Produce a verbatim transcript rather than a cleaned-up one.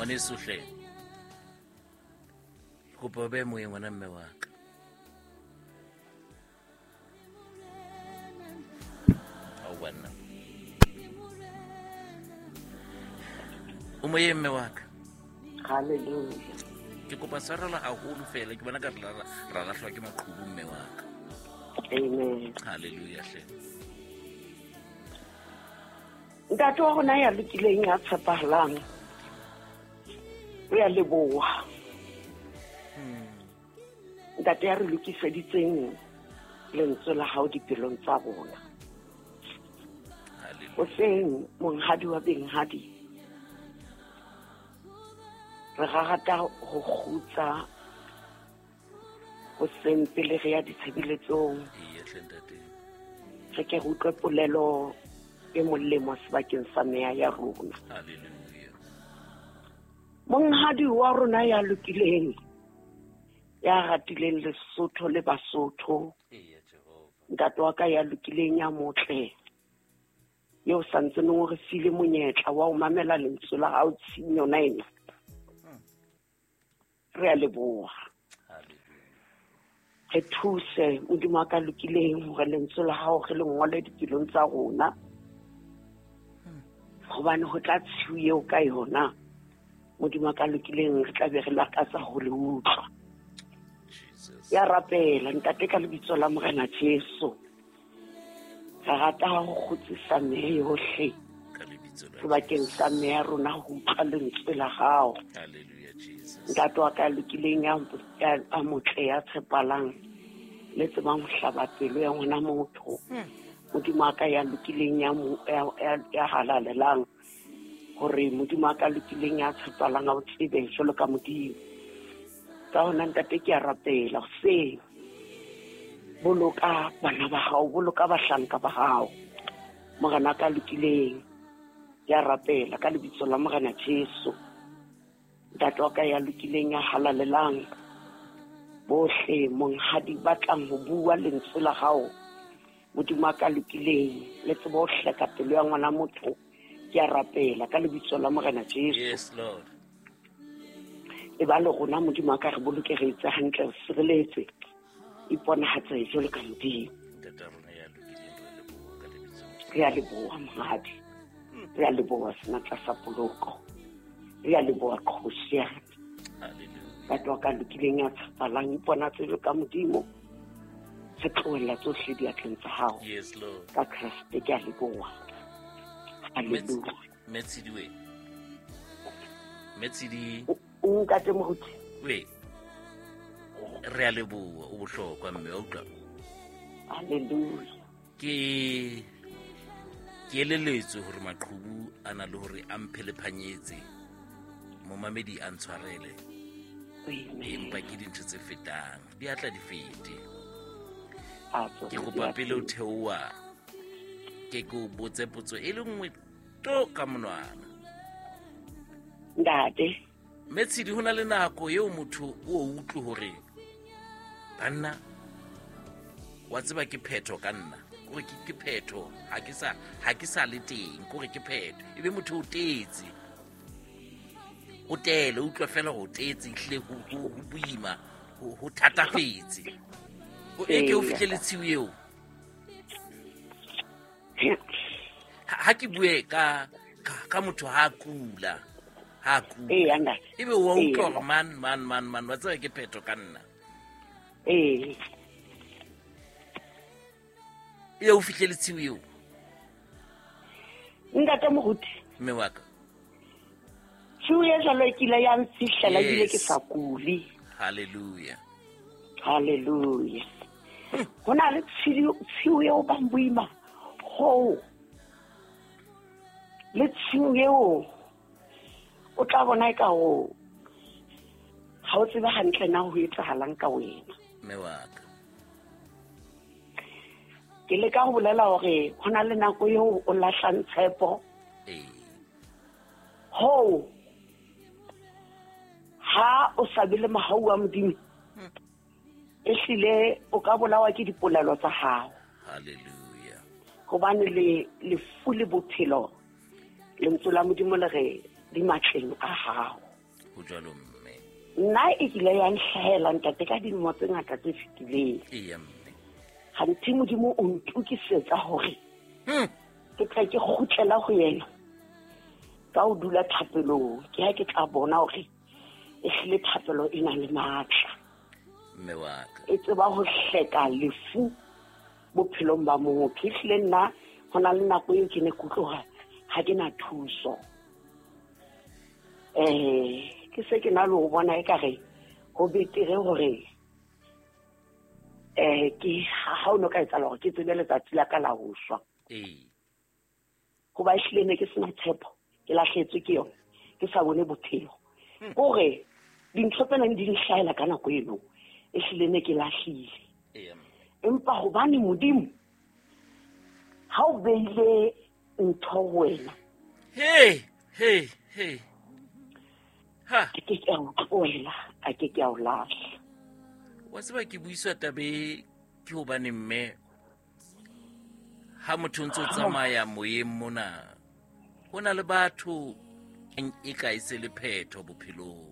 Ngwaneso hle. Kopa o be moyeng ngwana mme wa ka. Ao banna. O moyeng mme wa ka. Hallelujah. Ke kopa tshwarelo haholo fela ke bona ka re ra lahlwa ke maqhubu mme wa ka. Amen. Hallelujah hle. Ntate wa rona ya lokileng ya tshepahalang. Re a leboha. Ntate ya re lokiseditseng lentswe la hao dipelong tsa rona. Hoseng monghadi wa benghadi, re rata ho kgutsa hoseng pele re ya ditshebeletsong. Re ke re utlwe polelo e molemo sebakeng sa meya ya rona. Monghadi wa rona ya lokileng, ya ratileng Lesotho le Basotho, ntate wa ka ya lokileng ya motle, eo santsaneng o re file monyetla wa ho mamela lentswe la hao tshimong yona ena. Re a leboha. Re thuse Modimo wa ka lokileng hore lentswe la hao re le ngole dipelong tsa rona, hobane ho tla tshiu eo ka yona Modimo wa ka lokileng re tla be re lakatsa ho le utlwa. Ya rapela ntate ka lebitso la Morena Jesu. Re rata ho kgutsisa meya yohle sebakeng sa meya rona ho utlwa lentswe la hao. Ntate wa ka lokileng ya a motle ya tshepalang le tsebang ho hlaba pelo ya ngwana motho. Modimo wa ka ya lokileng ya ya halalelang, hore Modimo wa ka lokileng ya tshepalang a o tsebe jwalo ka Modimo. Ka hona ntate ke a rapela hoseng, boloka bana ba hao, boloka bahlanka ba hao. Morena ka lokileng, ke a rapela ka lebitso la Morena Jesu. Ntate wa ka ya lokileng ya halalelang, bohle monghadi ba tlang ho bua lentswe la hao, Modimo wa ka lokileng le tsebe ho hleka pelo ya ngwana motho, ke a rapela ka lebitso la Morena Jesu. Yes Lord. E ba le rona Modimo wa ka, re boloke, re etse hantle, re sireletse, iponahatse jwalo ka Modimo. Re a leboha monghadi, re a leboha senatla sa poloko, re a leboha kgosi ya Ntate wa ka lokileng ya tshepalang, iponatse jwalo ka Modimo, re tlohella tsohle diatleng tsa hao. Yes Lord. Ka Kreste ke a leboha. Hallelujah. Metshidi we. Metshidi. Ntate Moruti. We. Re a leboha, o bohlokwa mme wa utlwa. Hallelujah. Ke ke eleletswe hore maqhubu a na le hore a mphelephanyetse, momamedi a ntshwarele. Empa ke dintho tse fetang, di a tla di fete. Ke kopa pele o theoha, ke ke o botse potso e le nngwe to ka monwana. Ntate. Metshidi, ho na le nako eo motho o utlwe hore banna wa tseba ke phetho ka nna, kore ke ke phetho, ha ke sa ha ke sa le teng, kore ke phetho. Ebe motho o tetse, o tele, utlwa fela ho tetse, ehlile ho ho boima, ho ho thatafetse. O eke o fihlele tshiu eo. Ha ke bue ka ka motho ha kula, ha kula. Eh ntate. Ebe wa utlwa hore man man man man wa tseba ke phetho ka nna. Eh. E o fihlele tshiu eo. Ntate Moruti. Mme wa ka. Tshiu e jwalo e kile ya mfihlela ebile ke sa kule. Hallelujah. Hallelujah. Ho na le tshiu eo bang boima ho le tshiu eo o tla bona e ka ho ha o tsebe hantle na ho etsahalang ka wena. Mme wa ka. Ke leka ho bolela hore ho na le nako eo o lahlang tshepo. Ee. Ho ha o sa be le mohau wa Modimo, ehlile o ka bolawa ke dipolelo tsa hao. Hallelujah. Hobane le lefu le bophelo, lentswe la Modimo le re di matleng a hao. Ho jwalo mme. Nna e kile ya nhlahela ntate ka dilemo tse ngata tse fetileng. Eya mme. Ganthe Modimo o ntokisetsa hore Hmm. ke tla ke kgutlela ho yena ka ho dula thapelong. Ke ha ke tla bona hore e hlile thapelo e na le matla. Mme wa ka. E tseba ho hleka lefu bophelong ba motho. E hlile nna ho na le nako eo ke ne ke utlwa ha ke na thuso. Eh, ke se ke na le ho bona ekare ho betere hore eh ke ha o no ka etsahala hore ke tsebe letsatsi la ka la ho shwa. Ee. Hoba ehlile ne ke sena tshepo, ke lahlehetswe ke yona, ke sa bone bophelo. Kore dintho tse neng di nhlahela ka nako eno, ehlile ne ke lahlile. Eya mme. Empa hobane Modimo ha o beile ntho ho wena, Hey, hey, hey. Ha. a ke ke a o tlohela, a ke ke a o lahla. Wa tseba ke buiswa tabe ke hobane mme ha motho o ntso tsamaya moyeng mona, ho na le batho e ka e se le phetho bophelong.